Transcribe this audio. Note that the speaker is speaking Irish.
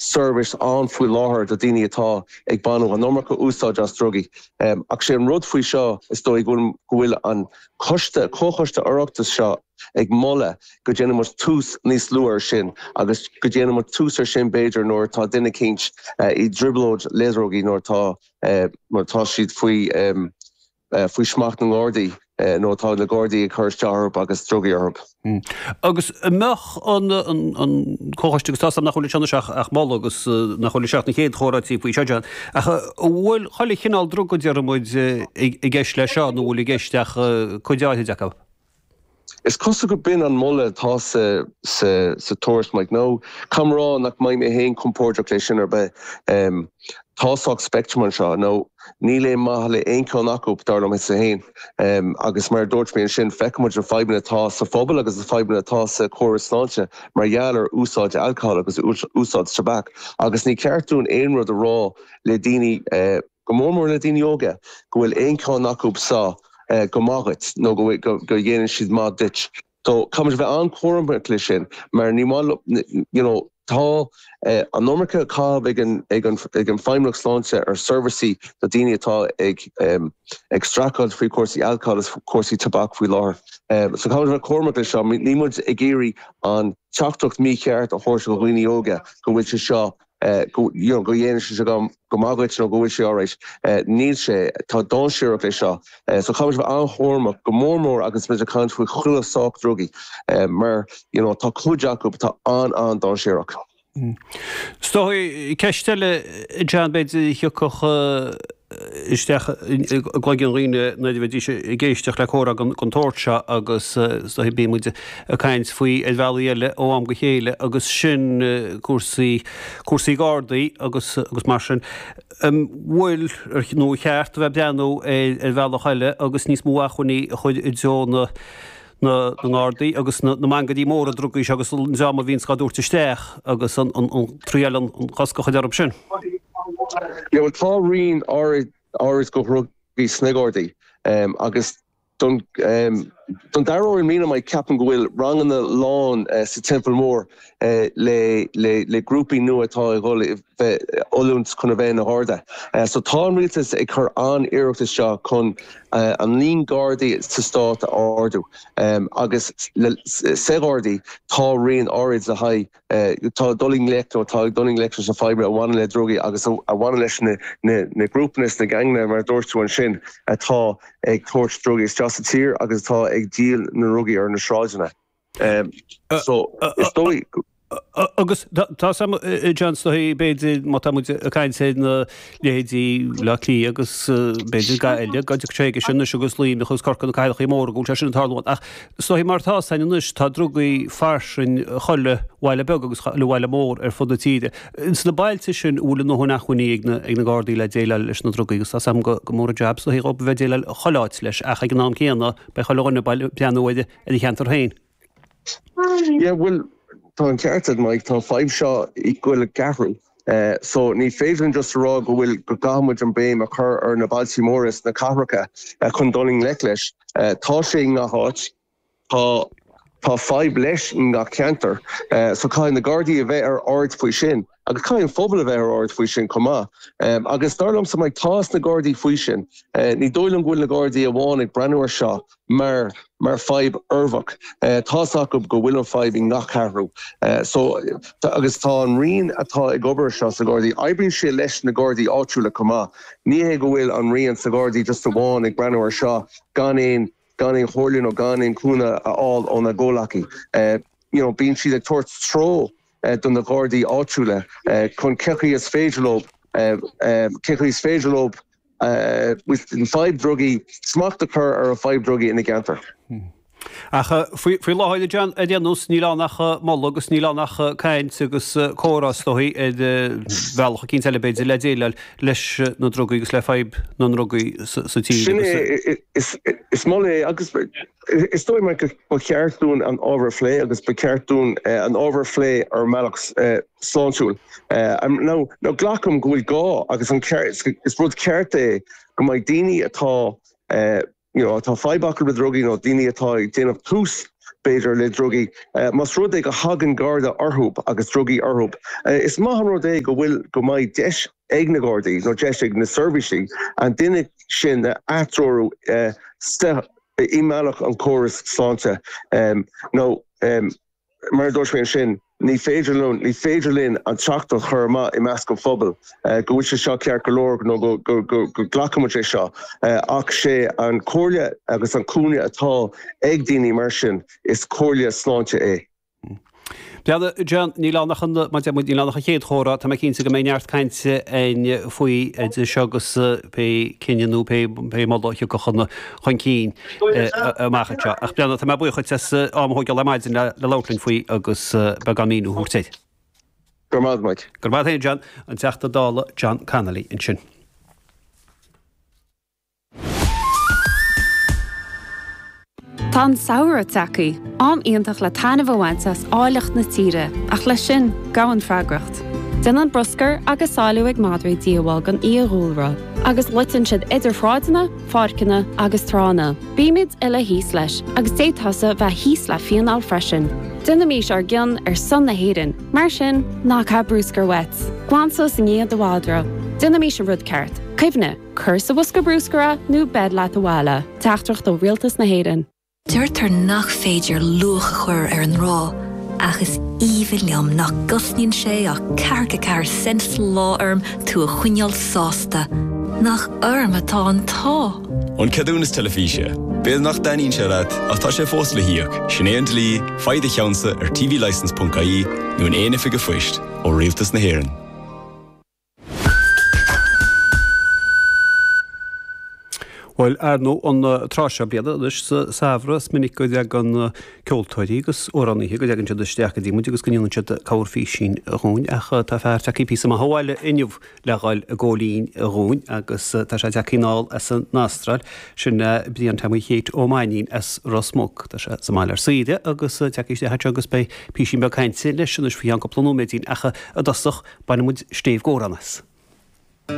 seirbhís ann faoi láthair do daoine atá ag baineadh an iomarca úsáid as drugaí. Ach sé an rud faoi seo is dóigh go bhfuil go bhfuil an coiste, comhchoiste Oireachtais seo ag moladh go déanfaidh muid tús níos luath ar sin agus go déanfaidh muid tús ar sin b'fhéidir nuair atá duine eicínt i dtrioblóid le drugaí nuair atá nuair atá siad faoi faoi smacht na nGardaí nó tá na Gardaí ag cur isteach orthu agus drugaí orthu. Agus an mbeadh an comhchoiste, agus tá 's agam nach bhfuil anseo anois ach moladh agus nach bhfuil anseo ach na chéad chomhráití faoi seo, John, ach an bhfuil chuile chineál druga, déarfaidh muid, i gceist leis seo nó an bhfuil i gceist ach cuid áirid acu? Is cosúil go b'in an moladh atá sa sa tuairisc, Mike. Now, caithfidh mé a rá nach mbeidh mé féin compordach leis sin ar bith. Tá sách spectrum anseo. Now, níl aon maith le aon cheann acu, dar liomsa féin. Agus mar a dúirt mé ansin, feiceann muid na fadhbanna atá sa phobal agus na fadhbanna atá sa chóras sláinte mar gheall ar úsáid alcohol agus úsáid tobac. Agus ní ceart dúinn aon rud a rá le daoine, go mór mór le daoine óga, go bhfuil aon cheann acu seo go maith dhuit nó go dhéanann siad maith duit. So caithfidh muid a bheith an-chúramach leis sin mar ní maith you know tá an iomarca caitheamh ag an ag an ag an Feidhmeannacht Sláinte ar seirbhísí do daoine atá ag ag streachailt faoi chúrsaí alcohol is cúrsaí tobac faoi láthair. So caithfidh muid a bheith cúramach leis seo. Níl muid ag iarraidh an teachtaireacht mícheart a thabhairt do dhaoine óga go bhfuil sé seo go you know go dhéanann sé seo go maith dhuit nó go bhfuil sé alright. Níl sé. Tá dainséarach leis seo. So caithfidh muid a bheith an-chúramach, go mór mór agus muid ag caint faoi chuile sórt drugaí mar you know tá cuid acu atá an-an-dainséarach. Is dóigh, ceist eile, John, b'fhéidir a thiocfadh isteach i gcloigeann dhaoine nuair a bheidís ag éisteacht le comhrá den tsórt seo agus is dóigh bíonn muid ag caint faoi ar bhealaí eile ó am go chéile agus sin cúrsaí, cúrsaí Gardaí agus agus mar sin. An bhfuil, nó ar cheart a bheith ag breathnú ar bhealach eile agus níos mó acmhainní a chur i dtreo na na nGardaí agus na mangairí móra drugaí seo agus an dream a bhíonns á dtabhairt isteach agus an triail an cosc a chur orthu sin. Yeah, bhuel tá rian áirid de dhrugaí sna Gardaí agus don don dara huair i mbliana Mike ceapaim go bhfuil ranganna lán sa Teampall Mór le le le grúpaí nua atá ag dul bheith oiliúint chun a bheith ina Gharda. So tá an rialtas ag cur an-iarracht isteach chun an líon Gardaí sa stát a ardú agus sa Ghardaí tá rian áirid le haghaidh atá ag dul i ngleic nó atá ag dul i ngleic leis na fadhbanna a bhaineann le drugaí agus a bhaineann leis na grúpanna is na geaingeanna mar a dúirt tú ansin atá ag tabhairt drugaí isteach sa tír agus atá ag díol na ndrugaí ar na sráideanna. So, is dóigh. Agus tá 's agam, John, is dóigh, b'fhéidir, má tá muid ag caint ar na leithéidí Bleá Cliath agus b'fhéidir Gaillimh, go dtiocfaidh sé chuige sin anois agus Luimneach agus Corcaigh, na cathracha móra, go bhfuil sé sin ag tarlú. Ach is dóigh mar atá 's againn anois, tá drugaí fairsing chuile bhaile beag agus chuile bhaile mór ar fud na tíre. Ins na bailte sin, an bhfuil a ndóthain acmhainní ag na Gardaí le déileáil leis na drugaí agus tá 's agam go mór an jab is dóigh dhóibh a bheith ag déileáil chuile áit leis ach ag an am céanna beidh chuile dhuine ag breathnú ar ar a cheantar féin. Yeah, bhuel, tá an ceart agat, Mike, tá an fadhb seo ag goil ag athrú. So ní féidir linn just a rá go bhfuil, go gcaithfidh muid an béim a chur ar na bailtí móra is na cathracha chun dul i ngleic leis. Tá sé i ngach áit. Tá, tá fadhb leis i ngach ceantar. So caithfidh na Gardaí a bheith ar aird faoi sin. Agus caithfidh an phobal a bheith ar aird faoi sin chomh maith. Agus dar liomsa, Mike, tá 'fhios na Gardaí faoi sin. Ní dóigh liom go bhfuil na Gardaí amháin ag breathnú ar seo mar mar fadhb uirbeach. Tá 'fhios acu go bhfuil an fadhb i ngach ceathrú. So, agus tá an rian atá ag obair seo sa Ghardaí, oibríonn sé leis na Gardaí áitiúla chomh maith. Ní hé go bhfuil an rian sa Ghardaí just amháin ag breathnú ar seo gan aon gan aon chomhairle nó gan aon cúnamh a fháil óna gcomhleacaí. You know, bíonn siad ag tabhairt treo do na Gardaí áitiúla chun cé chaoi is féidir leo cé chaoi is féidir leo an fadhb drugaí, smacht a chur ar an fadhb drugaí ina gceantar. Ach faoi láthair, a John, ar aon nós, níl ann ach moladh agus níl ann ach caint agus comhrá is dóigh ar bhealach eicínt eile b'fhéidir le déileáil leis na drugaí agus le fadhb na ndrugaí sa tír. Sin é, is moladh é agus Is dóigh liom go ba cheart dúinn an ábhar a phlé agus ba cheart dúinn an ábhar a phlé ar mbealach sláintiúil. Now, glacaim go bhfuil gá agus an ceart, is rud ceart é go mbeidh daoine atá, you know, atá fadhb acu le drugaí nó daoine atá ag déanamh tús. b'fhéidir, le drugaí, más rud é go thagann Garda orthu agus drugaí orthu, is maith an rud é go bhfuil, go mbeidh deis ag na Gardaí nó deis ag na seirbhísí an duine sin a atreorú i mbealach an chórais sláinte nó mar a dúirt mé ansin, ní féidir linn, ní féidir linn an teachtaireacht a chur amach i measc an phobail go bhfuil sé seo ceart go leor nó go nglacann muid é seo ach sé an comhairle agus an cúnamh atá ag daoine mar sin, is comhairle sláinte é. Bhuel, John, níl ann ach an, mar a deir muid, níl ann ach an chéad chomhrá. Tá mé cinnte go mbeidh neart cainte againn faoi idir seo agus pé cinneadh nó pé moladh a thiocfadh chun cinn amach anseo. Ach Breandán, tá mé buíoch dhuit as am a thógáil ar maidin le labhairt linn faoi agus beagán míniú a thabhairt air. Go raibh maith agat, Mike. Go raibh maith agat féin, John. An Teachta Dála John Connolly ansin. Tá an samhradh tagtha, am iontach le taitneamh a bhaint as áilleacht na tíre, ach leis sin, gabhann freagracht. Déanann bruscar agus sáiliú ag madraí díobháil don fhiadhúlra, agus loiteann siad idir shráideanna, pháirceanna agus tránna. Bímid uile thíos leis, agus d'fhéadfása bheith thíos le fíneáil freisin. Déanaimís ár gcion ar son na hÉireann, mar sin, ná caith bruscar uait. Glan suas i ndiaidh do mhadra. Déanaimís an rud ceart. Cuimhnigh! Cuir sa bhosca bruscair é nó beir leat abhaile. Teachtaireacht ó Rialtas na hÉireann. Deirtear nach féidir luach a chur ar an ngrá, ach is aoibhinn liom nach gcosnaíonn sé ach ceathracha ceathair cent sa lá orm tú a choinneáil sásta. Nach orm atá an t-ádh! An ceadúnas teilifíse. B'fhéidir nach dtaitníonn sé leat, ach tá sé fós le híoc. Sin é an dlí, faigh do cheannsa ar tvlicence.ie nó in aon oifig an phoist, ó Rialtas na hÉireann. Bhuel, ar ndóigh, an tráth seo bliana anois sa samhradh, is minic go dtagann ceoltóirí agus amhránaithe, go dtagann siad isteach go dtí muid agus go ndéanann siad corrphísín dhúinn, ach tá fear tagtha píosa maith ó bhaile inniu le dhul ag gabháil fhoinn dhúinn agus tá sé tagtha anall as an Astráil, sin Brian Tommy Kate Ó Mainnín as Ros Muc. Tá sé sa mbaile ar saoire agus tagtha isteach anseo agus beidh písín beag cainte leis anois faoi cheann cúpla nóiméidín ach i dtosach bainfidh muid stéibh gcomhrán as.